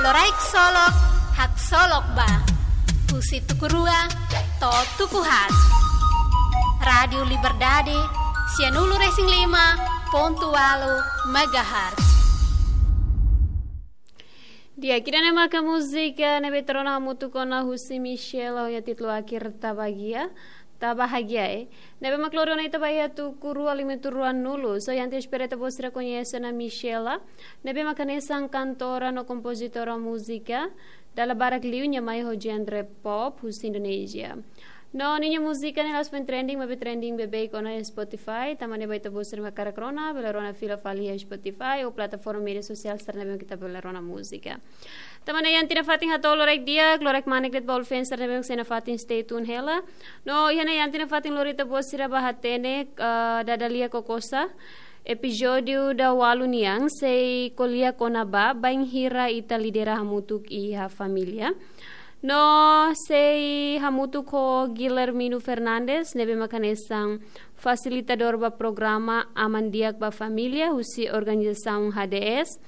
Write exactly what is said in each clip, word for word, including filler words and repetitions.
Loraik Solok, Haksolok Ba. Husi tuku rua to'o tuku haat. Rádiu Liberdade, sianulu-resin-lima pontu ualu megahertz. Di'ak, ida-ne'e maka múzika ne'ebé ita rona hamutuk ona husi Michela ho nia títulu Akhir Ta Bahagia, Ta Bahagia, eh. Ne'ebé mak lori ona ita ba iha tuku rua limitu ruanulu. So, iha ita espera ita-boot sira koñese ona Michela, ne'ebé mak hanesan kantora no kompozitora múzika, dala barak liu nia mai ho genre pop husi Indonézia. No ninia múzika ne'e la'ós foin trending, maibé trending beibeik ona iha Spotify. Tanba ne'e ba ita-boot sira mak hakarak rona, bele rona fila fali iha Spotify ou plataforma média sosiál sira ne'ebé mak ita bele rona múzika. Tanba ne'e iha ita-nia fatin hato'o loraik di'ak, loraik manek de'it ba ita-boot sira ne'ebé mak sei iha ita-nia fatin, stay tune hela. No iha ne'e iha ita-nia fatin lori ita-boot sira ba hatene, eh, Dada Lia Kokosa, epizódiu daualu nian, sei ko'alia kona-ba bainhira ita lidera hamutuk iha família. No sei hamutuk ho Guilhermino Fernandes, ne'ebé mak hanesan fasilitadór ba programa Aman Di'ak ba Família, husi organizasaun H D S.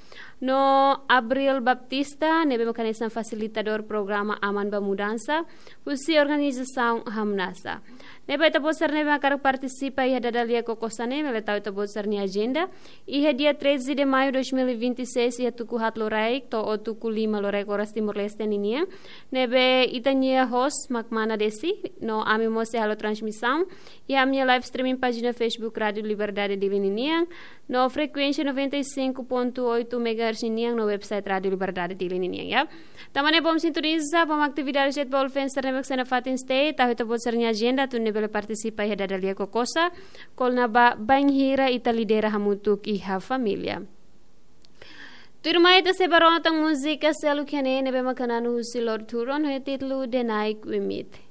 No Abril Baptista, ne'ebé mak hanesan fasilitadór programa Aman ba Mudansa, husi organizasaun Hamnasa. Ne'ebé ita-boot sira ne'ebé mak hakarak partisipa iha Dada Lia Kokosa ne'e, bele tau ita-boot sira-nia ajenda. Iha dia treze de maio dois mil e vinte e seis, iha tuku haat loraik to'o tuku lima loraik oras Timor-Leste ninian. Ne'ebé ita-nia host mak mana Desi, no ami mós sei halo transmisaun iha ami-nia live streaming pájina Facebook Rádiu Liberdade Dili ninian, no frekuénsia noventa e cinco ponto oito megahertz ninian, no website Rádiu Liberdade Dili ninian, ya. Tanba ne'e bom sintoniza, bom atividade de'it ba ita-boot sira ne'ebé mak sei iha ita-nia fatin, stay, tau ita-boot sira-nia ajenda, atu nune'e bele partisipa iha Dada Lia Kokosa, kona-ba bainhira ita lidera hamutuk iha família. Tuirmai ita sei bá rona tan múzika seluk iha ne'e, ne'ebé mak hanesan husi Lord Huron, ho títulu The Night We Meet.